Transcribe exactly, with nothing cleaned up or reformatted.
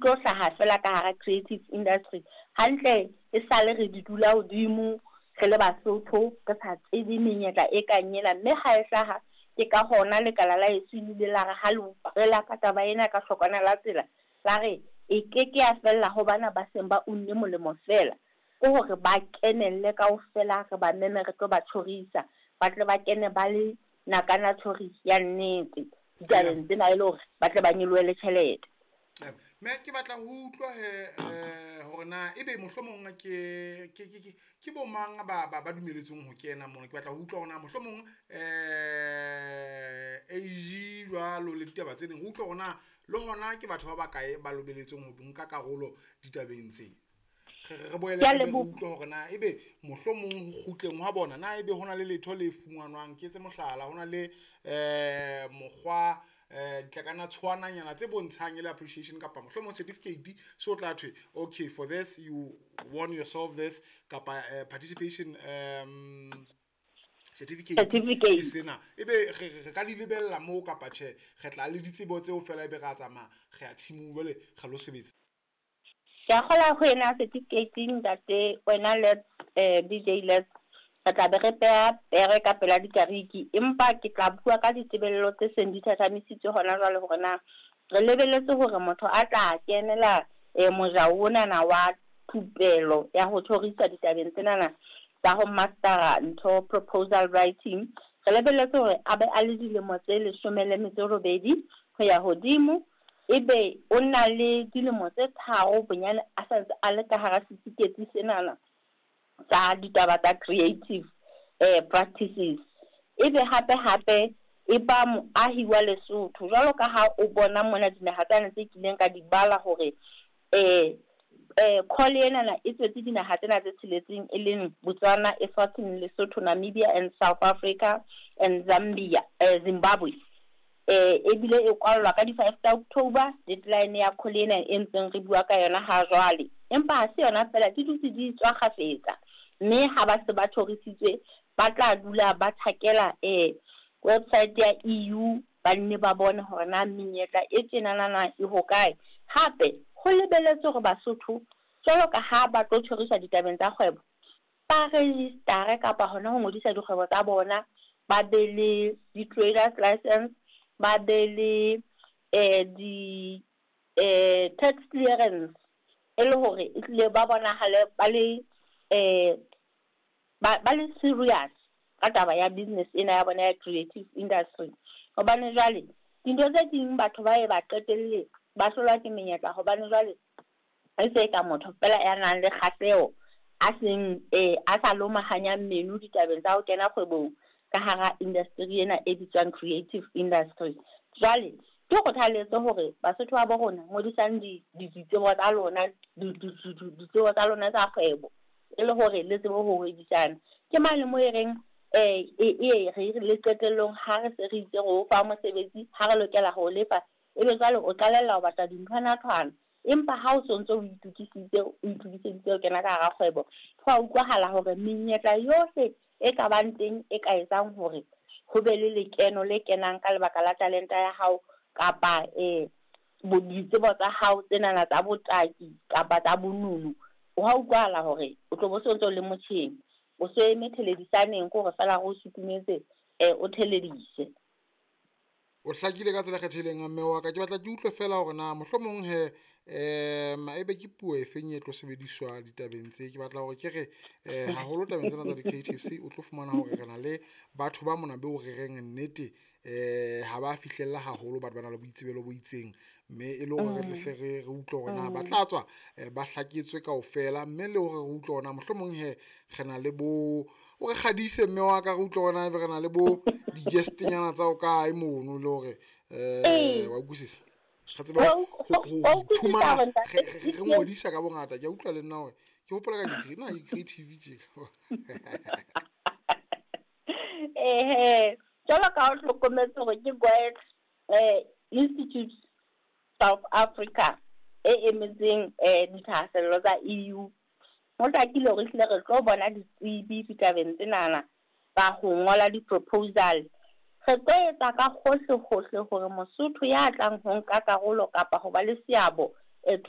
tlo hlaha fela ka hara creative industry. Hantle e sale re di dula hodimo re le Basotho, re sa tsebe menyetla e kang ena, mme ha e hlaha ke ka hona lekala la heso le ile la re ha le utlwela ka taba ena ka hlokwana la tsela, la re e keke ya fella ho bana ba seng ba unne molemo fela, ke hore ba kenelle kaofela, re ba meme re tlo ba tjhorisa, ba tle ba kene ba le nakana tjhori ya nnete ditabeng tsena, e le hore ba tle ba nyolohele tjhelete. Mme ke batla ho utlwa he eh hore na ebe mohlomong ke ke ke ke bo mang ba ba ba dumeletsweng ho kena mona. Ke batla ho utlwa hore na mohlomong eh A G jwalo le ditaba tse ding, re utlwa hore na le hona ke batho ba bakae ba lobeletsweng ho nka karolo ditabeng tse. Re re boele Ke a re leboha. utlwe hore na ebe mohlomong ho kgutleng hwa bona na ebe hona le letho le fumanwang. Ke etse mohlala, hona le eh mokgwa eh ditlakana tshwananyana tse bontshang e le appreciation kapa mohlomong certificate so tla thwe okay for this you won yourself this kapa eh, participation um certificate Certificate. ke sena, ebe re re ka di lebella moo kapa tjhe re tla le ditsebo tseo fela ebe ra tsamaya re ya tshimong jwale re lo sebetsa. Ke a kgolwa ho ena certificate ntate wena Let's eh D J Let's, re tla be re peha pere ka pela dikariki, empa ke tla bua ka ditebello tse seng di thathamisitswe hona jwale hore na re lebelletse hore motho a tla kenela eh mojao onana wa thupelo ya ho tjhorisa ditabeng tsenana tsa ho mastera ntho proposal writing, re lebelletse hore a be a le dilemo tse leshome le metso e robedi ho ya hodimo, ebe o na le dilemo tse tharo bonyane a sa ntse a le ka hara setifikeiti senana tsa ditaba tsa creative eh practices. Ebe hape hape e ba moahi wa Lesotho, jwalo ka ha o bona mona dinaha tsena tse kileng ka di bala hore eh eh call enana e tswetse dinaha tsena tse tsheletseng, e leng Botswana, Eswatini, Lesotho, Namibia and South Africa and Zambia, eh Zimbabwe. Eh ebile e kwallwa ka di five tsa October, deadline ya call ena e ntseng re bua ka yona ha jwale. Empa ha se yona fela, di dutse di tswa kgafetsa, mme ha ba se ba tjhorisitswe ba tla dula ba thakela eh website ya E U, ba nne ba bone hore na menyetla e tjenanana e hokae. Hape ho lebelletswe hore Basotho jwalo ka ha ba tlo tjhoriswa ditabeng tsa kgwebo, ba register-e kapa hona ho ngodisa dikgwebo tsa bona, ba be le di-traders license, ba be le eh di eh tax clearance, e le hore e tlile ba bonahale ba le eh ba ba le serious ka taba ya business ena ya bona ya creative industry. Hobane jwale dintho tse ding batho ba ye ba qetelle ba hlolwa ke menyetla, hobane jwale e se ka motho fela ya nang le kgahleho a seng eh a sa lomahanyang meno ditabeng tsa ho kena kgwebong ka hara industry ena e bitswang creative industry. Jwale ke kgothaletso hore Basotho ba bo rona ngodisang di ditsebo tsa lona, ditsebo tsa lona tsa kgwebo, e le hore le tsebe ho hwebisana. Ke mane mo e reng eh e e re le qetellong ha re se re itse re o fa mosebetsi, ha re lokela ho lefa, ebe jwale o qalella ho batla dinthwana-thwana. Empa ha o sontso o itokisitse, o itokiseditse ho kena ka hara kgwebo, ho a utlwahala hore menyetla yohle e ka bang teng e ka etsang hore ho be le lekeno le kenang ka lebaka la talenta ya hao kapa eh ditsebo tsa hao tsenana tsa botaki kapa tsa bonono, ho a utlwahala hore o tlo bo sontso le motjheng, o so eme theledisaneng ke hore fela re o sutumetse eh o theledise. O hlakile ka tsela e kgethehileng mme wa ka. Ke batla ke utlwe fela hore na mohlomong he em ebe ke puo e feng e tlo sebediswa ditabeng tse. Ke batla hore ke re eh haholo tabeng tsena tsa di-creatives o tlo fumana hore re na le batho ba mona beo re reng nnete eh ha ba fihlella haholo, batho ba na le boitsebelo bo itseng, mme e le hore re tle hle re re utlwe hore na ba tla tswa ba hlaketswe kaofela, mme le hore re utlwe hore na mohlomong he re na le bo o re kgadise mme wa ka, re utlwe hore na ebe re na le bo di-guest-nyana tsa ho kae mono, le hore eh wa utlwisisa re tsebe ho iphumana re ngodisa ka bongata. Ke a utlwa le nna hore ke hopola ka ke na ke creative tje. Eh jwalo ka o hlokometse hore ke Goethe eh Institute South Africa e emetseng eh dithahasello tsa E U. Ho hlakile hore ehlile re tlo bona ditsebi ditabeng tsenana tsa ho ngola di-proposal. Re tlo etsa ka hohle hohle hore Mosotho ya tlang ho nka karolo kapa ho ba le seabo